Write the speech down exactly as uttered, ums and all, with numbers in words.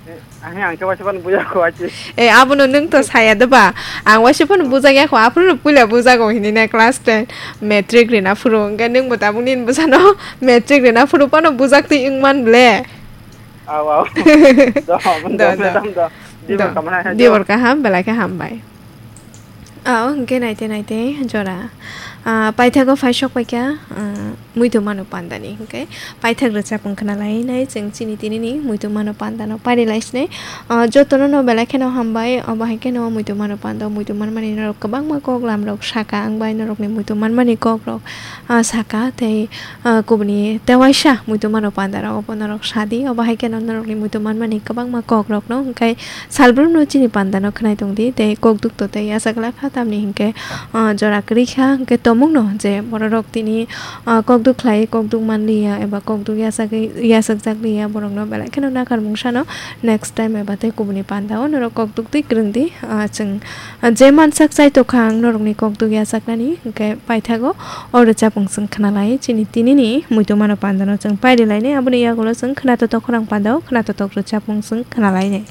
Ahe, ang khe waisa phano bujakho, achi. Eh, abono nwng to saya de ba? Ang waisa phano bujakya kho, aphuru puila bujago hinwi na class ten, matric rina phuru. Hwnkhe nwng bo tabuk nini bwsano matric rina phuru phano bujaktwi wngman ble. Aw, aw. Do, do, Do, do. madam, do. Dibor Do. kamana hai, Dibor do. kaham, belai khe hambai. Ah, hwnkhe naite naite jora. Ah, paithago phai sok paikha, ah, muitu mano pandani, hwnkhe paithak rwchapung khna lai nai chwng chini tinini muitu mano pandano pari lai sinai. Ah, jotono no belai kheno hambai, obo hai kheno muitu mano pando, muitu manmani norok kwbangma kok lam rok saka, ang bai norokni muitu manmani kok rok, ah, saka tei ah, kubuni tewaisa muitu mano panda rok obo norok sadi, obo hai kheno norokni muitu manmani kwbangma kok rok no, hwnkhe salbrumno chini panda no khwnai tongdi, tei kok duk to tei yachak glak kha, tamni hwnkhe, ah, jora kwrwi kha, hwnkhe tomung no je borok rok tini, ah, kok duk khlai, kok duk manliya eba kok duk yachagwi, yachakjak liya, borok no belai kheno nakar mung sano next time eba tei kubuni panda o norok kok duk twi kwrwng di, ah, chwng Ah, je mansak chai tokha ang norokni kok duk yachaknani, hwnkhe paithago o rwchapung chwng khna lai. Chini tinini muitu mano pandano chwng pairi lainai, aboni yagulo chwng khna totok khorang pandao, khna totok rwchapung chwng khna lainai.